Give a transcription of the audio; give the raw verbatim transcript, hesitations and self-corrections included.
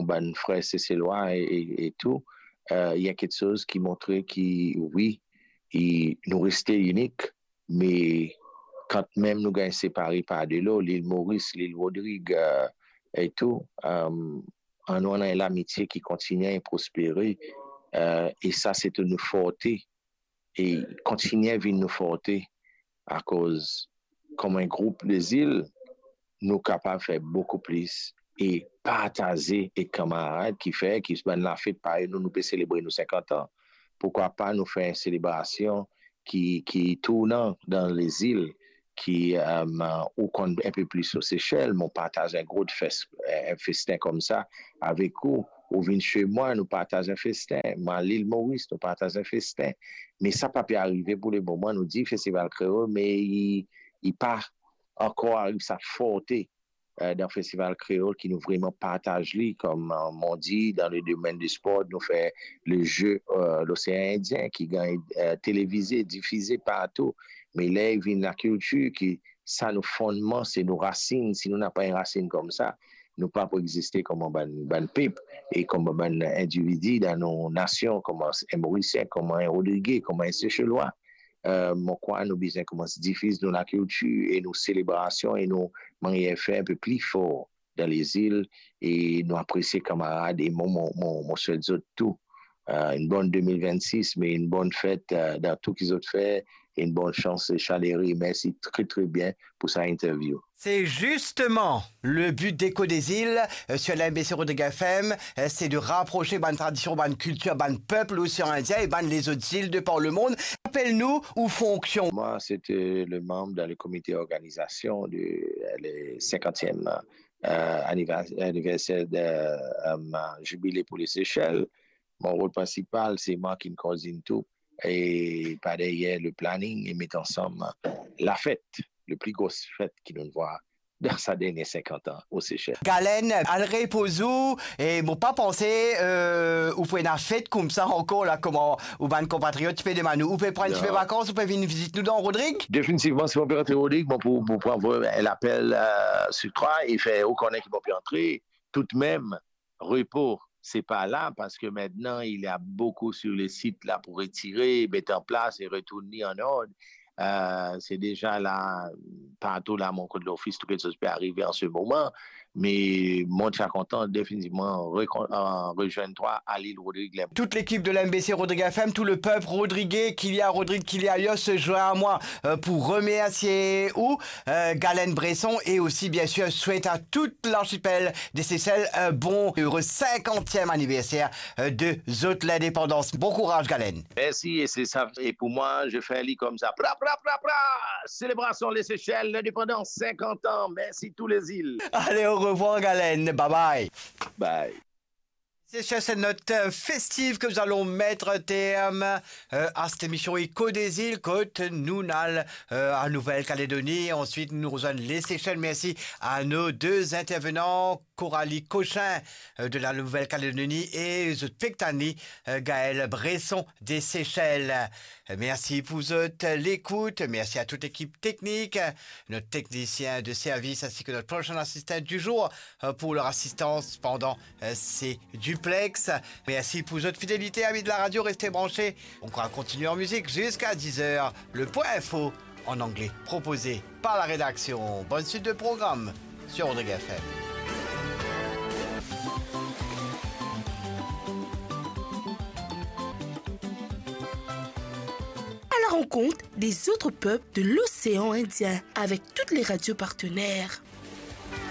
bann frer Seselwa e, e, e tou, euh, il y a quelque chose qui montre ki, wi, i, nou reste inik, me kanmem nou gagn separe par delo, Lil Moris, Lil Rodrig, euh, e tou, euh, annou ena enn lamitie ki kontigne e prospere, euh, e sa se tou nou forte, e kontigne vinn nou forte, akoz kouma enn group de zil, nou kapav fer boukou plis e partaze ek kanmarad ki fer ki bann lafet parey nou, nou pe selebre nou senkant an. Poukwa pa nou fer enn selebrasion ki, ki tournan dan lezil, ki, euh, ou konn enn pe plis lor Sesel, mo partaz enn gro fes-, enn festen koumsa avek ou, ou vinn chez mwa, nou partaz enn festen, mwa Lil Moris, nou partaz enn festen. Me sa pa pe arive pou lemoman, nou dir Festival Kreol, me li, li pa ankor ariv sa forte, euh, dan Festival Kreol ki nou vreman partaz li, kouma, euh, mo dir, dan le domenn di spor, nou fer le Jeu, euh, Losean Indien ki gagn, euh, televize, difize partou. Me ler vinn lakiltir ki sa nou fondman, se nou rasinn. Si nou napa enn rasinn koumsa, nou pa pou existe kouma bann, bann pep e kouma bann individi dan nou nasion, kouma enn Morisien, kouma enn Rodrige, kouma enn Seselwa. Euh, mo krwar nou bizin koumans difiz nou lakiltir e nou selebrasion e nou manyer fer enn pe pli for dan lezil e nou apresie kanmarad e mo, mo, mo, mo swet zot tou, euh, enn bonn de mil vennsis, me enn bonn fet, euh, dan tou ki zot fer, enn bonn sans e Chaleri. Mersi tre, tre bien pou sa interview. C'est justement le but d'Écho des Îles, euh, sur la M B C Rodrigues F M, euh, c'est de rapprocher bann tradision, bann kiltir, bann pep Losean Indien e bann lezot zil de par le monde. Rapel nou ou fonksion. Moi, c'était le membre dans le comité d'organisation du, euh, le cinquantième, euh, anniver-, anniversaire de, euh, jubilé pour les Seychelles. Mon rôle principal, c'est moi qui coordonne tout. E par derrière le planning e met ansam lafet, le pli gro fet ki nou vwar dan sa dernie senkant an o Sesel. Galen, al repoz ou, e mo pa panse, euh, ou pou ena fet koumsa ankor la, kouma ou bann konpatriot ti pe demann ou. Ou pe pran enn ti pe vakans, ou pe vinn vizit nou dan Rodrig? Definitivman, si mo pe rantre Rodrig, mo pou, pou pran enn lapel, euh, sou trwa e fer ou konnen ki mo pe antre. Toudmem, repo, se pa la, parski aster il y a beaucoup sur le site la pou retire, met an plas e retourn li an ord. Euh, se deza la, partou la, mon kot lofis, tou kiksoz pe arive an se moman, me mo ti a kontan definitivman rekon-, euh, rezwenn twa a Lil Rodrig. Tout l'équipe de la M B C Rodrigues F M, tout le peuple rodriguais, qu'il y a à Rodrigues, qu'il y a ailleurs, se joint à moi, euh, pour remercier ou, euh, Galen Bresson, et aussi, bien sûr, souhaite à toute l'archipel des Seychelles un bon, heureux cinquantième anniversaire, euh, de zot lindepandans. Bon kouraz, Galen. Mersi, e se sa, e pou mwa, je fer li koumsa. Pra, pra, pra, pra! Selebrasion Lesesel, lindepandans, senkant an. Mersi tou lezil. Allez, au revoir, Galen. Bye bye. Bye. C'est sur cette note, euh, festive que nous allons mettre terme, euh, à cette émission Écho des Îles, kot nou al, euh, en Nouvelle-Calédonie. Ensuite, nous rejoignons les Seychelles. Merci à nos deux intervenants, Coralie Cochin, euh, de la Nouvelle-Calédonie, et zot pektan li, euh, Gaël Bresson des Seychelles. Merci pour zot, euh, l'écoute. Merci à toute l'équipe technique, notre technicien de service ainsi que notre prochain assistant du jour, euh, pour leur assistance pendant, euh, ces duplex. Merci pour zot fidélité, amis de la radio. Restez branchés. On va continuer en musique jusqu'à dix heures. Le point info en anglais proposé par la rédaction. Bonne suite de programme sur Rodrigues F M. À la rencontre des autres peuples de l'océan Indien avec toutes les radios partenaires.